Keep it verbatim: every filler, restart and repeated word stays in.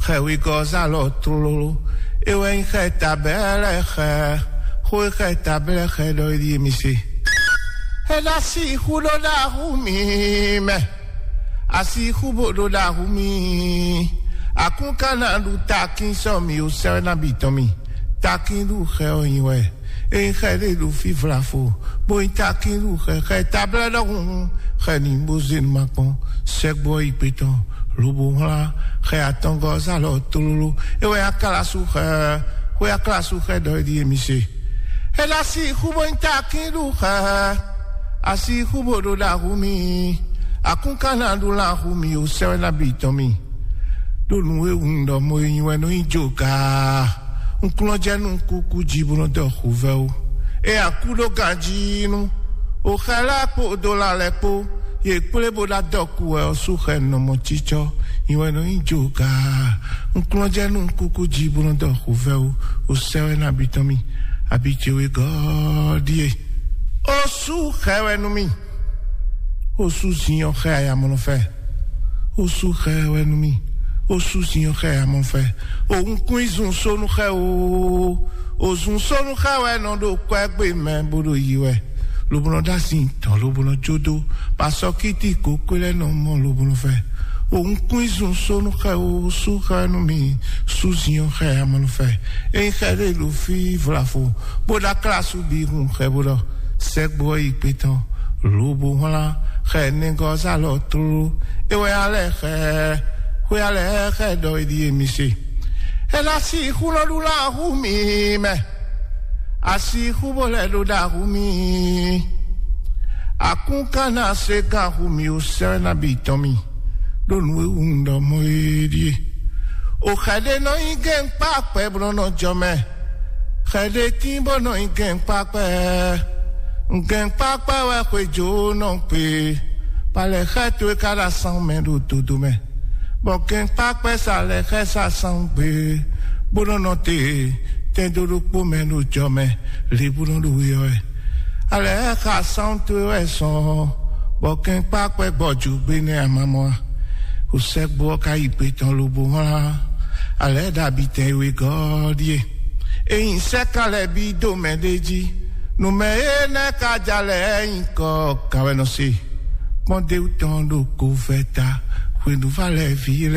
Xɛ wegɔ́ zá lɔ tlóló. É wɛ nyí xɛ tabɛ́ lɛ́ɛ xɛ. Xó e xɛ tabɛ́ lɛ́ɛ xɛ ɖɔ é ɖíe mi se. É ná sixú ɖó ɖaxú mi mɛ. Asixú bo ɖó ɖaxú mi. Akún ka ná ɖu takín sɔ mi o sɛ́ wɛ ná bi tɔn mi. Takín ɖu xɛ ɔ nyi wɛ. Ényí xɛ ɖé ɖo fí vlafo, bó nyí takín ɖu xɛ xɛ tablɛ́ ɖɔhun, xɛ ní bó zé nu ma kpɔ́n. Sɛgbó ɔ́ yi gbe tɔn, lobo wlán xɛ atɔngɔ́ zá lɔ tlóló. É wɛ aklásu xɛ, xwé aklásu xɛ ɖɔ é ɖíe mi se. É ná sixú bó nyí takín ɖu xɛ, asixú bo ɖo ɖaxú mi, akún ka ná ɖu lan axú mi o sɛ́ wɛ ná bi tɔn mi. Ɖó nǔ e wun ɖɔ mo e nyi wɛ nɔ nyi jo gaa. Un kplɔ́n jɛ nú kúkú jí bó nɔ dɔ xuvɛ́ ó. É a kú ɖó ganjí nú. O xɛ lɛ́ɛ kpó o dó la lɛ́ɛ kpó. Yě kplé bó ná dɔ kú wɛ ɔ́ sú xɛ nɔmɔ cícɔ́. Nyi wɛ nɔ nyi jo gaa. Un kplɔ́n jɛ nú kúkú jí bó nɔ dɔ xuvɛ́ ó. O sɛ́ wɛ ná bi tɔn mi. Abi ce wegɔ́ ɖíe. O sú xɛ wɛ nú mi. O sú zinyɔ xɛ ayamɔnɔfɛ. O sú xɛ wɛ nú mi. O sú zinyɔ xɛ ayamɔnɔfɛ. O wunkun yi zun sónú xɛ o. O zun sónú xɛ wɛ nɔ ɖo kwɛ́gbé mɛ bó ɖo yi wɛ. Lobo nɔ ɖó asi tɔn lobo nɔ jó dó. Pasɔkíti kókó lɛ́ɛ nɔ mɔ lobo nɔ fɛ. O wunkun yi zun sónú xɛ o sú xɛ nú mi. Sú zinyɔ xɛ ayamɔnɔfɛ. Ényí xɛ ɖé ɖo fí vlafo bó ɖó aklásu bǐ hun xɛ bó ɖɔ. Sɛgbó ɔ́ yi kpé tɔn, lobo wlán xɛ nɛgɔ́ zá lɔ tlóló. É wɛ alɛ xɛ, xwé alɛ xɛ ɖɔ é ɖíe mi se. É ná sixú nɔ ɖu lan axú mi mɛ. Asixú bó lɛ́ ɖo ɖaxú mi. Akún ka ná se gán axú mi o sɛ́ ná bi tɔn mi. Ɖó nǔ e wun ɖɔ mɔ é ɖíe. O xɛ ɖé nɔ nyí gɛ́nkpá kpɛ bó nɔ jɔ mɛ. Xɛ ɖé tín bó nɔ nyí gɛ́nkpá kpɛ. Gɛ́nkpá kpɛ wɛ xwéjó nɔ kpe. Palɛ xɛ towe ka ɖo asán mɛ ɖo dodo mɛ. Bɔ gɛ́nkpá kpɛ sa lɛ xɛ sa sán gbe. Bó nɔ nɔ te tɛndo ɖokpó mɛ ɖo jɔ mɛ. Lě bó nɔ ɖo we ɔ́ wɛ. Alɛ xa sán towe wɛ sɔn. Bɔ gɛ́nkpá kpɛ gbɔ ju gbé nɛ amamɔ a. O sɛgbó ɔ́ ka yi gbe tɔn lobo wlán. Alɛ ɖabi tɛn e wegɔ́ ɖíe. Ényí sɛ́ ka lɛ́ bí dó mɛ ɖé jí. Nǔ mɛ énɛ́ ka ja lɛ́ nyí kɔ gǎn wɛ nɔ se. Kpɔ́n déwú tɔn ɖo go vɛ ta. Hwenu va lɛ́ vǐ lɛ́ɛ